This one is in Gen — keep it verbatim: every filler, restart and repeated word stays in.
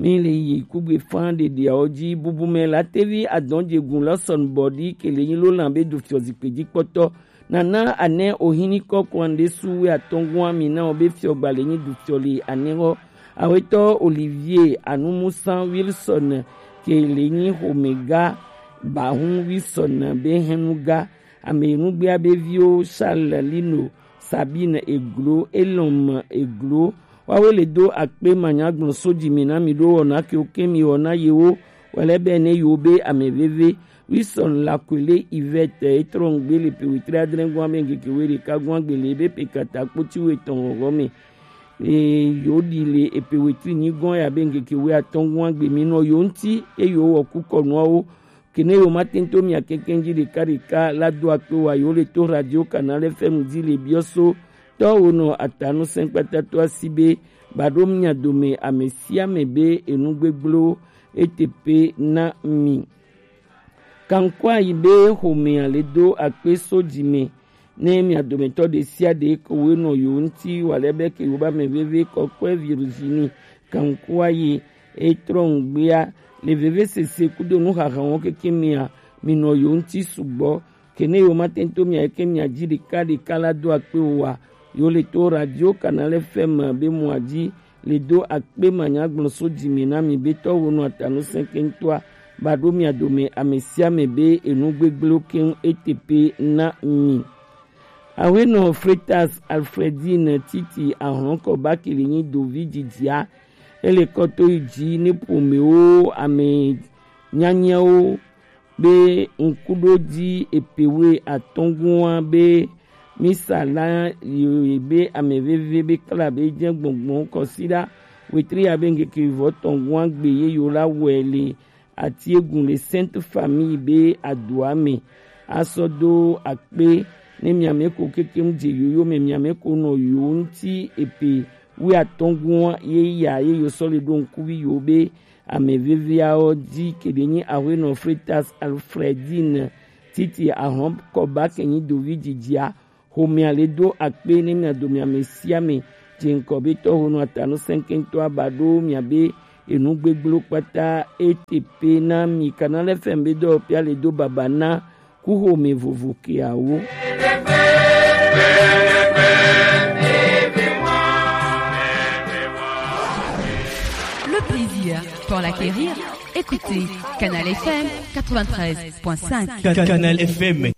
Ni le yi kugbe fan ɖeɖeawo ji, bubumɛ latevi adɔnjegun lɔ sɔnubɔɖi kele nyi lo lan be do fiɔ zikpe ji kpɔtɔ. Nana anɛ ohin ni kɔ kwan ɖe su we atɔngua mi na wo be fiɔ gba le nyi du fiɔ le anɛ hɔ. Awetɔ Olivier Anumusan Wilson kele nyi homega bahun Wilson be hɛnuga. Ame nugbea be viwo Charles Lino, Sabine Eglo, Elom Eglo, wawe le do akpe manyagblɔ so ji mi na mi ɖo wɔna ke wo ke mi wɔna yewo wɛlɛ bɛ ne yewo be ame veve. Wilson Lakwele Yvette etrɔ ŋgbe le pe wetri adre gɔn ame ŋkeke we ɖeka gɔn agbe le ebe pe kata kpoti we tɔn ŋgɔ me. E, yo ɖi le epe wetri nyi gɔn ya be ŋkeke we atɔn gɔn agbe mi nɔ yo ŋti e yo wɔ kukɔ nuawo. Kene yo ma tento mia kɛkɛ ji ɖeka ɖeka la do akpe wa yo le to Radio Canal F M di le biɔ so tɔ wo nɔ atanu sɛnkpata to asi be ba ɖo mia dome ame sia ame be enu gbegblẽwo ete pe na mi. Kankua yi be xomea le do akpe so ji me ne mia dometɔ ɖe sia ɖe ko we nɔ yo ŋti wa le be ke yo ba me veve kɔkɔe Virginie Kankua yi etrɔ ŋgbea le veve sese kudo nuxaxawo keke mia mi nɔ yo ŋti sugbɔ. Kene yo ma tento mia ke mia ji ɖeka ɖeka la do akpe wa yo le to Radio Canal F M be mua ji le do akpe manyagblɔ so ji mi na mi be tɔ wo nɔ atanu sɛnkɛntɔa ba ɖo mia dome ame sia ame be enu gbegblẽwo keŋ ete pe na mi. Awenɔ Fretas Alfredine Titi ahlɔnkɔ bakili nyi dovi jijia ele kɔto yi ji ne ƒomewo ame nyanyawo be ŋkuɖodzi epewe atɔ̃gua be misa la yi be ame veve be kla be dze gbɔngbɔn kɔsiɖa wetri ya be ŋkeke vɔ tɔ̃gua gbe ye yo la wɔe le Atiegun le Sainte Famille be adoa me asɔ do akpe ne miame ko keke ŋdze yoyo me miame ko nɔ yo ŋti epe wi atɔ̃gua ye ya ye yo sɔ le ɖo ŋkuvi yo be ame veveawo dzi keɖe nyi Aƒenɔ Fretas Alfredine Titi Ahɔn Kɔba ke nyi dovi dzidzia. Xomea le do akpe ne mia dome ame sia ame dze ŋkɔ be tɔho nɔ atanu sɛnkɛntɔ aba ɖo mia be enu gbegblẽwo kpata ete pe na mi. Canal F M be dɔwɔƒea le do baba na kuxome vovo keawo. Le plaisir pour l'acquérir, écoutez Canal F M quatre-vingt-treize point cinq. Canal F M.